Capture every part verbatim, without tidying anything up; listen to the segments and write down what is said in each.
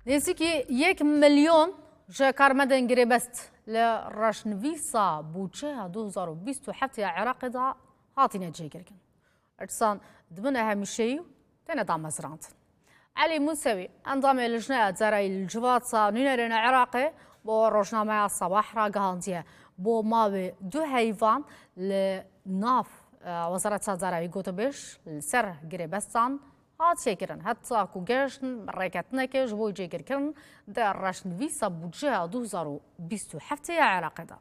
Nêzîkî yek milyon ji karmendên girêbest li reşnivîsa bûçeya du hezar û bîst û heft ya Iraqê de hatine cêgirkin. Irsan dibine hemîşeyî û têne damezrandin. Elî Musewî, endamê Lijneya Derayî li Civata Nûnerên Iraqê, bo rojnameya Sabah ragihandiye, bo mawê du heyvan li nav, e, Wezareta Derayî gotibêj li ser girêbestan hatiye kirin. Heta ku gehiştin rêketinekê ji bo cêgirkirin di reşnivîsa budceya du hezar û bîst û heft ya Iraqê de.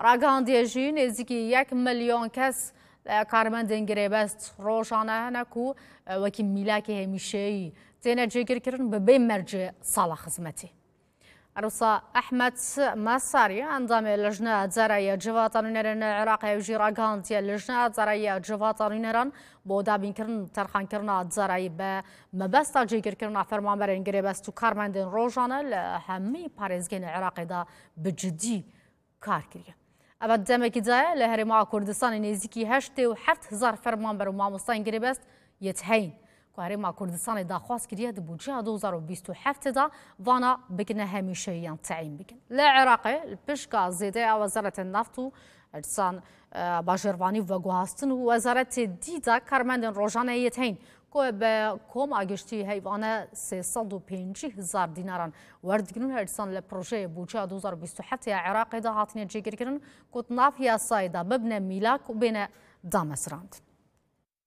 Ragihandiye jî nêzîkî yek milyon kes, e, karmendên girêbest rojane hene ku, e, wekî mîlakê hemîşeyî têne cêgirkirin bi bê mercê sala xizmetê. Erosa Ehmed Mesarî, endamê Lijneya Derayî ya Civata Nûnerên Iraqê, ew jî ragihandiye Lijneya Derayî ya Civata Nûneran bo dabînkirin terxankirina derayî bi mebesta cêgirkirina fermanberên girêbest û karmendên rojane li hemî parêzgehên Iraqê de bi cidî kar kiriye. Ev demekî daye li Herêma Kurdistanê nêzîkî heştê û heft hezar fermanber û mamostayên girêbest yê tiheyîn ku Herêma Kurdistanê daxwaz kiriye di budceya du hezar û bîst û heft de vana bikine hemîşeyiyan teyîn bikin. Li Iraqê li pişka zêdeya Wezaretên Neft û Irsan, e, Bajêrvanî û Veguhastin û wezaretê dî de karmendên rojane yê teyîn ku bi koma giştî heyvane sê sed û pêncî hezar dînaran werdigrin, her dîsan li projeyê bûçeya du hezar û bîst û heft ya Iraqê de hatine cêgirkirin ku di nav yasayê de bibine mîlak û bêne damezrandin.